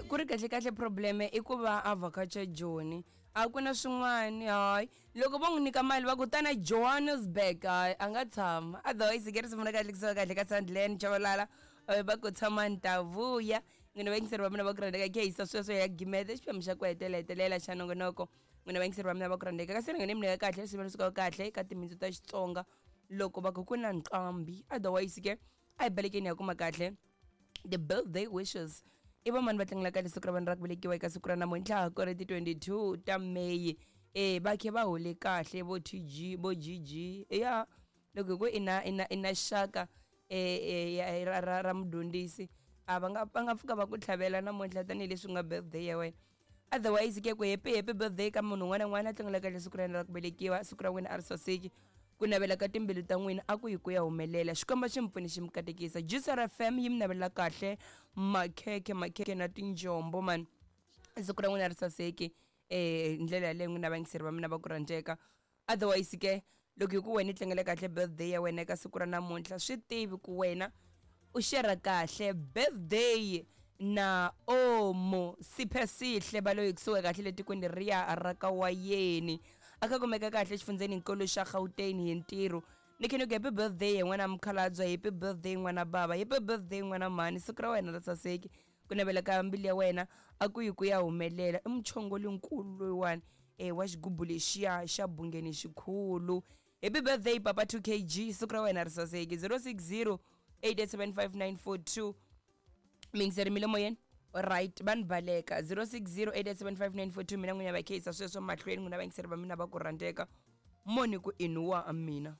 Ku ri kahle kahle probleme i ku va a vhakacha Joni a ku na swin'wani hayi loko vo n'wi nyika mali va ku tana Johannesburg hayi a nga tshama otherwise ke risimu ra kahle kusuka kahle ka Sandland Chabalala va ku tshama ni ta vuya n'wina vayingiseri va mina va ku rhandzeka khe hisa sweswo ya gimeta xiphemu xa ku hetelela hetelela xa nongonoko n'wina vayingiseri va mina va ku rhandzeka kasi rhangeni mi nyika kahle risimu ri suka kahle ka timintsu ta Xitsonga loko va ku ku na nqambi otherwise ke a hi balekeni ya kuma kahle the birthday wishes i vamani va tlangela kahle siku ra vanhu ra ku velekiwa eka siku ra namuntlha ku ri ti 22 ta May e va khe va hole kahle vo TG vo GG ya loko hi ku i na i na i na xaka e ra ra ra mudyondzisi a va nga va nga pfuka va ku tlhavela namuntlha tanihileswi nga birthday ya wena otherwise ke ku happy happy birthday ka munhu un'wana na un'wana a tlangela kahle siku ra yena ra ku velekiwa siku ra n'wina a ri saseki ku navela ka timbilu ta n'wina a ku yi ku ya humelela xikwembu xi mi pfuni xi mi katekisa Juicer FM yi mi navelela kahle makhekhe makhekhe na tinjombo mani siku ra n'wina ri saseki eh ndlela yaleyo n'wina vayingiseri va mina va ku rhandzeka otherwise ke loko hi ku wena i tlangela kahle birthday ya wena eka siku ra namuntlha swi tivi ku wena u shera kahle birthday na omo siphesihle va loyi kusuka kahle le tikweni riya ra ka wayeni a kha kumeka kahle exifundzeni nkulu xa gauteng hi ntirho ni khe ni ku happy birthday hi n'wana mukhalabye happy birthday n'wana bava happy birthday n'wana mhani siku ra wena ra saseki ku navela ka mbilu ya wena a ku yi ku ya humelela i muchongoli nkulu loyiwani e wa xigubu lexiya xa bungeni xikhulu happy birthday papa 2 kg siku ra wena ri saseki 060 8875942 mingiseri mi le moyeni right va ni baleka 060 8875942 mina n'wina va kheyisa sweswo mahlweni n'wina vayingiseri va mina va ku rhandzeka moni ku inuwa mina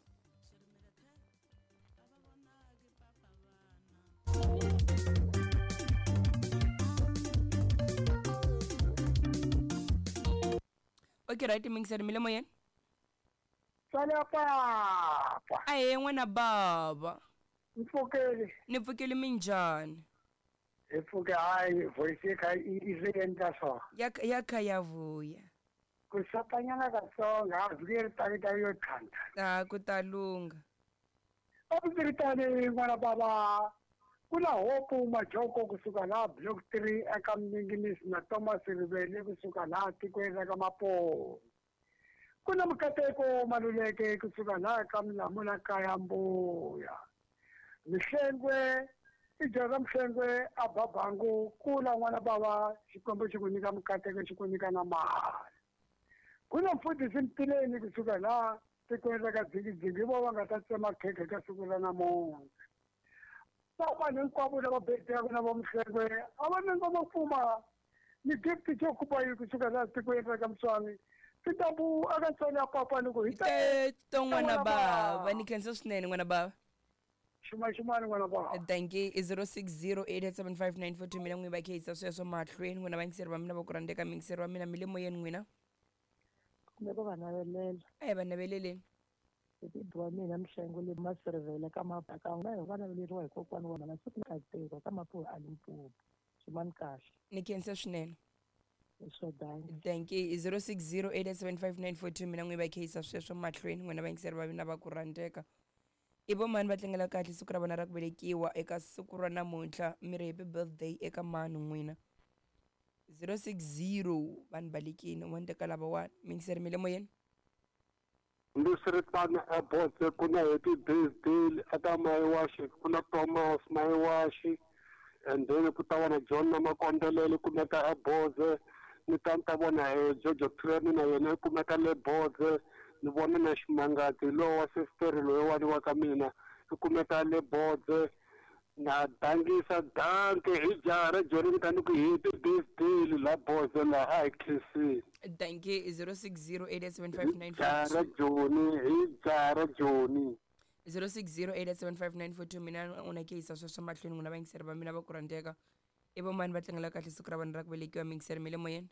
Okay right mingiseri mi le moyeni Tswala papa. Ahee n'wana bava. Mpfukeli. Ni pfukile minjhani? Hi pfuke hayi voice yi kha yi ri endla so. Ya ya kha ya vuya. Ku sotanyana katsongo a vhiki ri tali ta yo tlhantlha. A ku ta lungha. A ku ri tani n'wana bava ku na Hope Majoko kusuka laha Block 3 eka Mninginisi na Thomas Rivele kusuka laha tikweni ra ka Maponi. Ku na Mukateko Maluleke kusuka laha ka Mlamula kaya Mbuya. Mihlengwe i jaha ra Mhlengwe a ba bangu kula n'wana bava Xikwembu xi ku nyika mikateko xi ku nyika na mali. Ku na mfundhisi Mtileni kusuka laha tikweni ra ka Dzingidzingi hi vona va nga ta tsema khekhe ka siku ra namuntlha. Va vanhu hinkwavo lava betaka na va Mhlengwe a va na ngoma pfuma ni gift xo kupa yi kusuka laha tikweni ra ka Mswani tintambu aka ntswalo ya papa ni ku hi to n'wana bava ni khensa swinene n'wana bava xuma-xumani n'wana bava thank you i 06087594 mina n'wi va kheyisa sweswo mahlweni n'wina vayingiseri va mina va ku rhandzeka miyingiseri wa mina mi le moyeni n'wina Kumbe ku va navelela. A hi va naveleleni. Hi bibi wa mina Mhlengo le Masirivele ka Mabaka na hi va naveleriwa hi kokwana wa mina siku na Katseko ka Mapuwe a Limpopo. Xumani kahle. Ni khensa swinene. Leswo dankie. Thank you. I 06087594 mina n'wi va kheyisa sweswo mahlweni n'wina vayingiseri va mina va ku rhandzeka. I vo mani va tlangela kahle siku ra vona ra ku velekiwa eka siku ra namuntlha mi ri happy birthday eka mani n'wina 060 vanhu balekini un'wana teka lavawani miyingiseri mi le moyeni. Hambiswiritano, eBotse ku na Happy Birthday eka Mayiwaxi, ku na Thomas Mayiwaxi and then ku ta va na John na Makondelele kumeka eBoze, ni ta ni ta vona e Jojo Thulani na yena i kumeka le Boze, ni vona na Ximangadzi lowa wa sesiteri loyiwani wa ka mina i kumeka le Boze. Na dangisa danke hi jaha ra Joni ni ta ni ku happy birthday la Boze la a hi khensini. Danke i 06087594 Jaha ra Joni hi jaha ra Joni. 06087594 mina u na keyisa sweswo mahlweni n'wina vayingiseri va mina va ku rhandzeka i vo mani va tlangela kahle siku ra vanhu ra ku velekiwa miyingiseri mi le moyeni.